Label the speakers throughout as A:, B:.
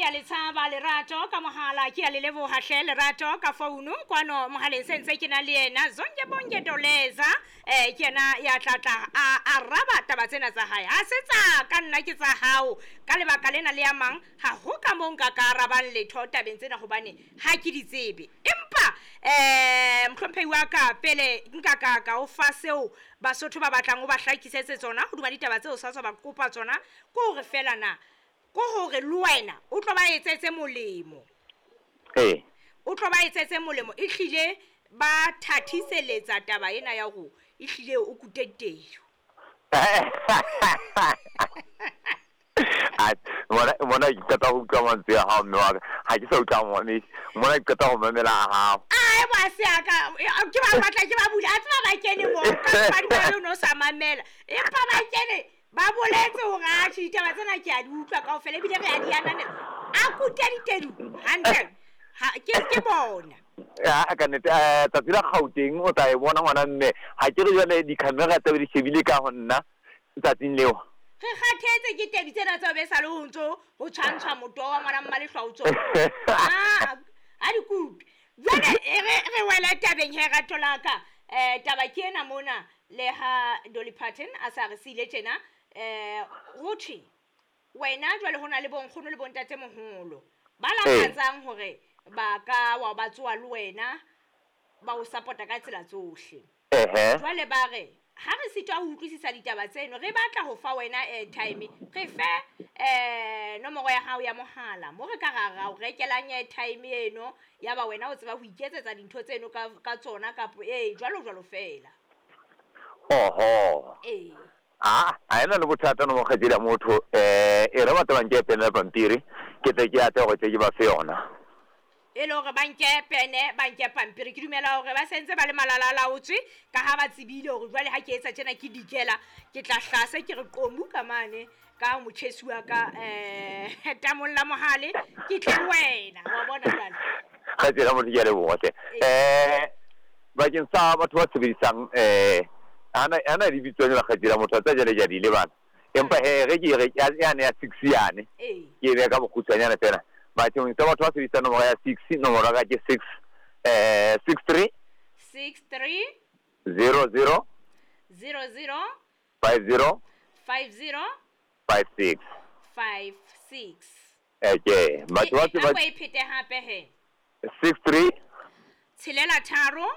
A: a le tshaba Lerato ka mohala, ke a le leboha hle Lerato ka founu kwano mohaleng se ntse ke na le yena Zonke Bonke Doleza. Ke yena ya tla tla a araba taba tsena tsa hae. Ha se tsa ka nna ke tsa hao ka lebaka lena le ya mang, ha ho ka moo nka ka arabang letho tabeng tsena hobane ha ke di tsebe. Empa mohlomphehi wa ka pele nka ka ka o fa seo Basotho ba batlang o ba hlakisetse tsona hodima ditaba tseo sa tswa ba kopa tsona, ke hore fela na ke hore le wena o tlo ba etsetse molemo.
B: Ee.
A: O tlo ba etsetse molemo, ehlile ba thathiseletsa taba ena ya hore ehlile o kute ditedu.
B: Mona ke qeta ho utlwa mantswe a hao mme wa ka, ha ke sa utlwa mona, mona ke qeta ho mamela a hao.
A: Ai ba se a ka, ke ba batla ke ba bula, a tseba ba kene mo, ka ba di no sa mamela. Empa ba kene ba boletse hore a tjhe ditaba tsena ke a di utlwa kaofela ebile re a di ananela. A kute ditedu hantle. Ha ke bona.
B: Ya ka nnete, tsatsi la Gauteng o tla e bona ngwana mme, ha ke re jwale di-camera tse di shebile ka ho nna tsatsing leo.
A: Re kgathetse ke tedu tsena tseo be sa le ho ntso ho tshwantshwa motoho wa ngwana mmalehlwa ho tsona. Ha di kupe. Jwale re wele tabeng he rato la ka. Taba ke ena mona le ha Dolly Parton a sa re siile tjena, ho thwe wena jwale ho na le bonkgono le bontatemoholo ba lakatsang hore ba ka wa ba tsoa le wena ba o support-a ka tsela tsohle. Jwale ba re ha re sitwa ho utlwisisa ditaba tseno, re batla ho fa wena airtime, re fe nomoro ya hao ya mohala mo re ka ra o rekelang airtime eno, ya ba wena o tseba ho iketsetsa dintho tseno ka tsona kapa jwalo jwalo fela.
B: Oho.
A: Ee.
B: Ha ena le bothata no mokgetsedi ya motho, e re batla ba nke pene le pampiri, ke tle ke ate hore tle ke ba fe yona.
A: E le hore ba nke pene, ba nke pampiri. Ke dumela hore ba sentse ba le malala a laotswe, ka ha ba tsebile hore jwale ha ke etsa tjena ke dikela, ke tla hlase ke re qomu ka mane ka motjhesi wa ka, tamong la mohale, ke tle le wena, wa bona jwale.
B: Kgaitsedi ya motho, ke a leboha hle. Bakeng sa batho ba sebedisang, ana di bitswang jwale kgaitsedi ya motho, tsa jwale ke a di lebala. Empa he, re ke re, yane ya 6 yane, ke e beha ka bokgutshwanyane fela. Bakeng sa batho ba sebedisang nomoro ya 6, nomoro ya ka ke 6, 6 3,
A: 6 3,
B: 0 0,
A: 0 0,
B: 5 0,
A: 5 0,
B: 5 6.
A: 5 6.
B: Ke, batho ba
A: A ko e phete hape he.
B: 6 3,
A: Tshelela tharo,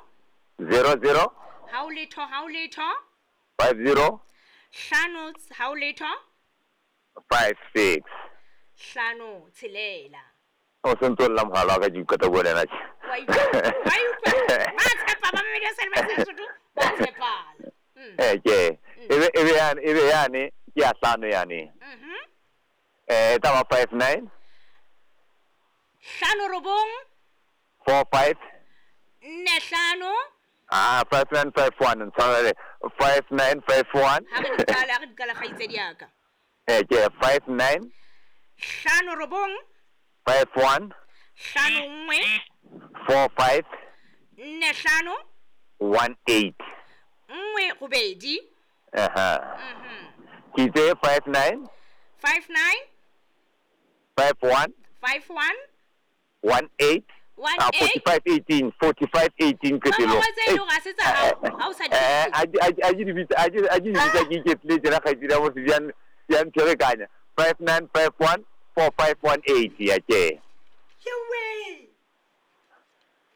B: 0 0,
A: ha o letho, ha o letho,
B: 5 0,
A: hlano, ha o letho,
B: 5 6.
A: Hlano tshelela.
B: O se ntso lla mohala wa ka, ke qeta bua le yena tje.
A: Wa utlwa, wa utlwa. Ba tshepa, ba mamedi ba sa le ba Sesotho, ba tshepala.
B: Ke. Ebe yane, ke ya hlano yane. E tla ba 5 9.
A: Hlano robong.
B: 4 5.
A: Nne hlano.
B: 5 9 5 1, ntshwarele. 5 9 5 1.
A: Ha re di qala, ha re di qala kgaitsedi ya ka.
B: Ke 5 9.
A: Hlano robong.
B: 5 1.
A: Hlano nngwe.
B: 4 5.
A: Nne hlano.
B: 1 8.
A: Nngwe robedi.
B: Ke itse 5 9.
A: 5 9.
B: 5 1.
A: 5 1.
B: 1 8.
A: 1 8.
B: 45 18, 45 18 qetellong.
A: Nomoro tse e leng hore ha se tsa hao, ha o sa di tsebe.
B: A ke di bitsa, a ke, a ke di bitsa ke iketlile tjena kgaitsedi ya motho, di a mpherekanya. 5 9 5 1, 4 5 1 8, ya ke.
A: Yewe.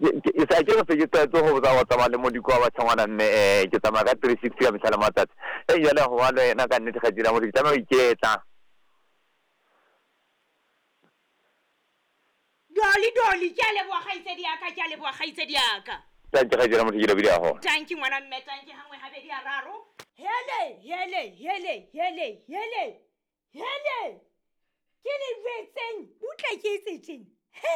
B: Ke sa ke re se ke tlwaetse ho botsa ho tsamaya le modiko wa batjha ngwana mme, ke tsamaya ka 360 ka mehla le matsatsi. Jwale ho ba le wena ka nnete kgaitsedi ya motho, ke tlameha ho iketla.
A: Dolly, Dolly, ke a leboha kgaitsedi ya ka, ke a leboha kgaitsedi ya ka.
B: Tanki kgaitsedi ya motho, ke lebohile haholo.
A: Tanki ngwana mme, tanki hangwe habedi hararo. Hele, hele, hele, hele, hele, hele. Ke le jwetseng, butle ke etse tjena. He.